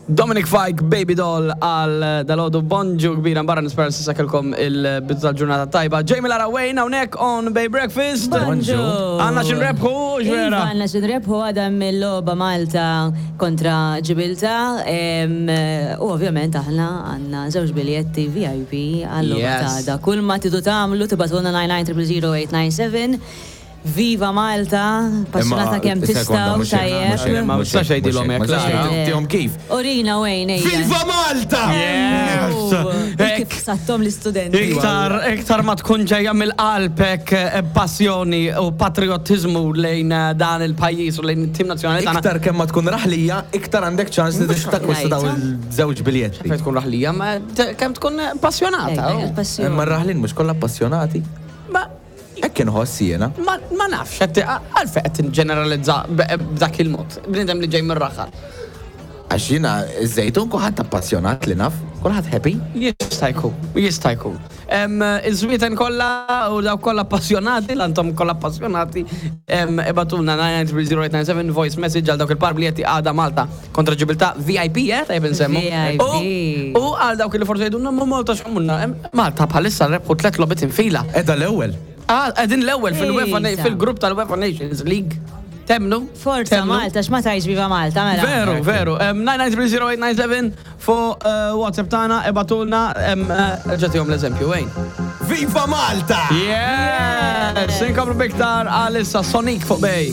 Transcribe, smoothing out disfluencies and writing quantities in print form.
Dominic Fike, Baby Doll għal dalodu bonġu kbira barra nispera s'issa kellkom il-bidu tal-ġurnata tajba. Jamie Lara Wayne hawnhekk on Bay Breakfast. Bonġu. Għandna xi nrebħu, Iva, vera. għandna xi nrebħu għada mill-logħba Malta kontra Ġibilta. U ovvjament aħna għandna żewġ biljetti VIP għal-logħba Yes. ta' għada. Kull ma tridu tagħmlu tibagħtulna 99000897. Viva Malta, passjonata kemm tistgħu, tajjeb. Ma tistax tgħidilhom hekk, Lara. Tihom kif? Urina Wayne, ejja. Viva Malta! Yes! Kif sattom l-istudenti. Iktar, iktar ma tkun ġejja mill-qalb hekk passjoni u patriotizmu lejn dan il-pajjiż u lejn it-tim nazzjonali tagħna. Iktar kemm ma tkun raħlija, iktar għandek ċans li takkwista daw il-żewġ biljetti. Fejn tkun raħlija, ma kemm tkun passjonata. Ejja, il-passjoni. Imma r-raħlin mhux kollha appassionati. Ma Hekk inħoss jiena. ma nafx, għalfejn qed ġeneralizza b'dak il-mod. Bniedem li ġej mir-raħal. Għax jiena iż-Żejtun kulħadd appassjonat li naf, kulħadd happy. Jista' jkun, jista' jkun. Iż-żwieten kollha u dawk kollha appassionati, l-antom kollha appassionati, ibagħtulna 9900897 voice message għal dawk il-par biljetti għada Malta kontra Ġibilta VIP, tajjeb insemmu. VIP. U għal dawk li forsi jgħidulna ma Malta x'għamulna, Malta bħalissa rebħu tliet logħbiet infila. Qiegħda l-ewwel. Ah, qegħdin l-ewwel fil-UEFA Ejja. fil-grupp tal-UEFA Nations League. Temnu? Forza Temnu? Malta, x'ma tgħidx Viva Malta, mela. Veru, veru. 9930897 fuq WhatsApp tagħna ibagħtulna ġatihom l-eżempju, Wayne. Viva Malta! Yes! Inkomplu biktar għalissa Sonic fuq Bay.